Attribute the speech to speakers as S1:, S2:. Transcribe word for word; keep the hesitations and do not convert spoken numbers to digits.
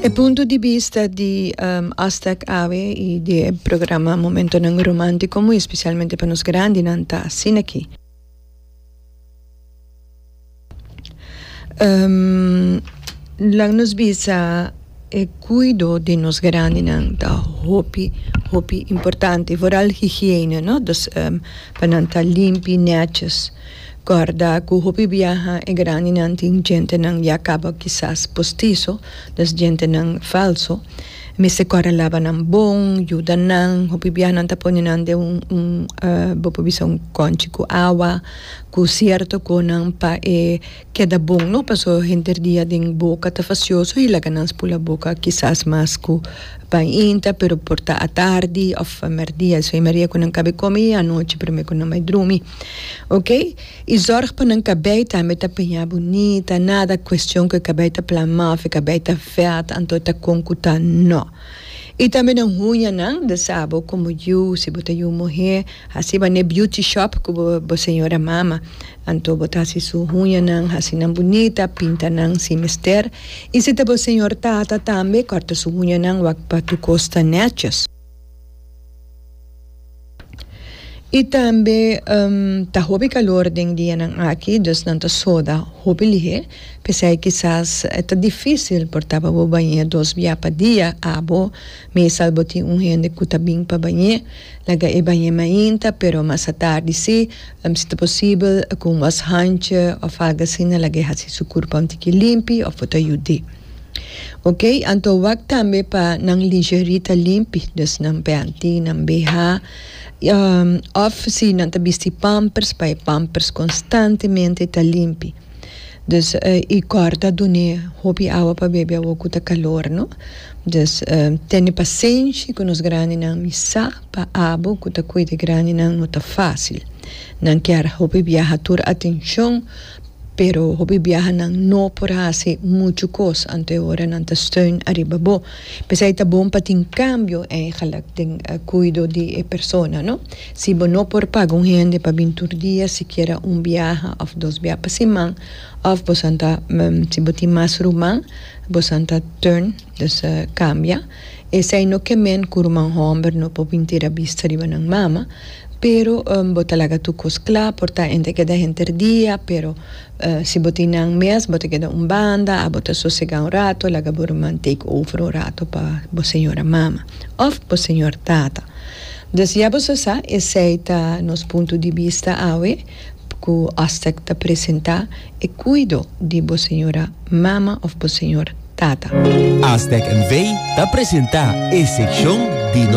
S1: E punto di bista di um, Astec awe y di programa Momentonan Romantico, muy especialmente pa nos grandinan, ta asina aki. Um, laga nos bisa, e cuido di nos grandinan ta hopi, hopi importante, vooral higiene, no? Dus um, pa nan ta limpi, netjes. Corda cu hopi biaha e grandinan tin djentenan ya caba kisas postizo, dus djentenan falso. Mester corda laba nan bon, yuda nan, hopi biaha nan ta pone nan den un, un uh, bo por bisa un conchi cu awa, cu cierto conan pa e keda bon, no? Paso henter dia den boca ta fastioso y laga nan spula boca kisas mas cu painta, pero por ta atardi of merdia, so merdia cu nan cabe come y anochi prome cu nan bay drumi. Ok? Y zorg pa nan cabey tambe ta peña bunita, nada cuestion cu e cabey ta plama of e cabey ta vet, anto ta con cu ta no. Y tambe nan huñanan, dus abo como yu, si bo ta yu muher, haci ba ne beauty shop cu bo, bo señora mama, anto bo ta haci su huñanan, haci nan bunita, pinta nan si mester. Y si ta bo señor tata tambe, corta su huñanan wak pa tur cos ta netjes. Y tambe ta hopi calor den dianan aki, dus nan ta soda hopi lihe. P'esei kisas e ta dificil por ta pa bo bañ'é dos bia pa dia. Abo mesal bo tin un hende cu ta bin pa bañ'é, laga e bañ'é mainta, pero mas atardi si, si ta posibel cu un washandje of algo asina laga e haci su curpa un tiki limpi of bo ta yud'é. Ok, anto wak tambe pa nan lingerie ta limpi, dus nan panty, nan B H, of si nan ta bisti pampers, pa e pampers constantemente ta limpi. Dus y corda dun'e hopi awa pa bebe awor cu ta calor, no? Dus tene pasenshi cu nos grandinan, mi sa pa abo cu ta cuida e grandinan no ta facil. Nan kier hopi biaha tur atencion, pero hopi biaha nan no por haci mucho cos, anto e ora nan ta steun ariba bo. P'esei ta bon pa tin cambio eigenlijk den cuido di e persona, no? Si bo no por paga un hende pa bin tur dia, sikiera un biaha of dos biaha pa siman, of bo san ta, si bo tin mas ruman, bo san ta turn, dus cambia. Esei no ke men cu ruman homber no por bin tira bista riba nan mama, pero bo ta laga tur cos cla, por ta hende keda henter dia, pero si bo tin nan mes, bo ta keda un banda, abo ta sosega un rato, laga bo ruman take over un rato pa bo señora mama of bo señor tata. Dus ya boso sa, esei ta nos punto di bista awe cu Astec ta presenta e cuido di bo señora mama of bo señor tata.
S2: Astec N V ta presenta e seccion di nos